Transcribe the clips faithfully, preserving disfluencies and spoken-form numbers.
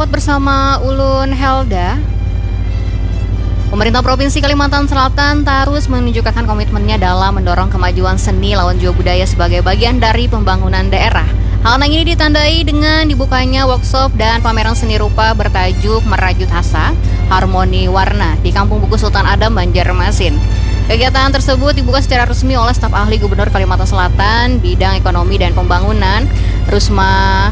Bersama ulun Helda. Pemerintah Provinsi Kalimantan Selatan tarus menunjukkan komitmennya dalam mendorong kemajuan seni lawan jua budaya sebagai bagian dari pembangunan daerah. Hal nang ini ditandai dengan dibukanya workshop dan pameran seni rupa bertajuk Merajut Asa, Harmoni Warna di Kampung Buku Sultan Adam, Banjarmasin. Kegiatan tersebut dibuka secara resmi oleh staf ahli Gubernur Kalimantan Selatan bidang ekonomi dan pembangunan, Rusma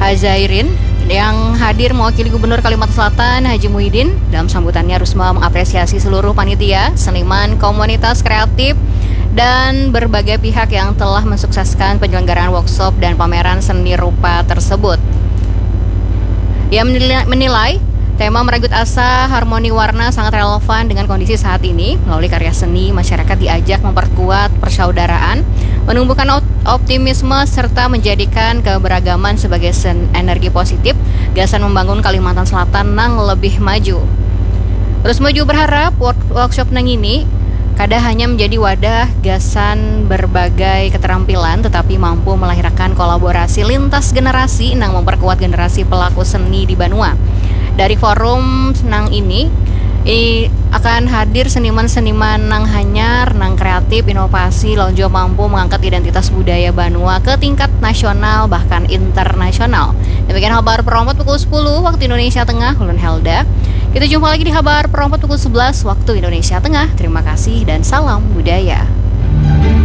Hazairin, yang hadir mewakili Gubernur Kalimantan Selatan, Haji Muhyiddin. Dalam sambutannya, Rusma mengapresiasi seluruh panitia, seniman, komunitas kreatif, dan berbagai pihak yang telah mensukseskan penyelenggaraan workshop dan pameran seni rupa tersebut. Ia menilai, menilai tema Merajut Asa Harmoni Warna sangat relevan dengan kondisi saat ini. Melalui karya seni, masyarakat diajak memperkuat persaudaraan, menumbuhkan op- optimisme, serta menjadikan keberagaman sebagai sen- energi positif gasan membangun Kalimantan Selatan nang lebih maju. Rusma jua berharap work- workshop nang ini kada hanya menjadi wadah gasan berbagai keterampilan, tetapi mampu melahirkan kolaborasi lintas generasi nang memperkuat generasi pelaku seni di banua. Dari forum nang ini, i- akan hadir seniman-seniman nang hanyar, nang kreatif, inovasi, lawan jua mampu mengangkat identitas budaya banua ke tingkat nasional bahkan internasional. Demikian Habar Perompat pukul sepuluh waktu Indonesia Tengah, ulun Helda. Kita jumpa lagi di Habar Perompat pukul sebelas waktu Indonesia Tengah. Terima kasih dan salam budaya.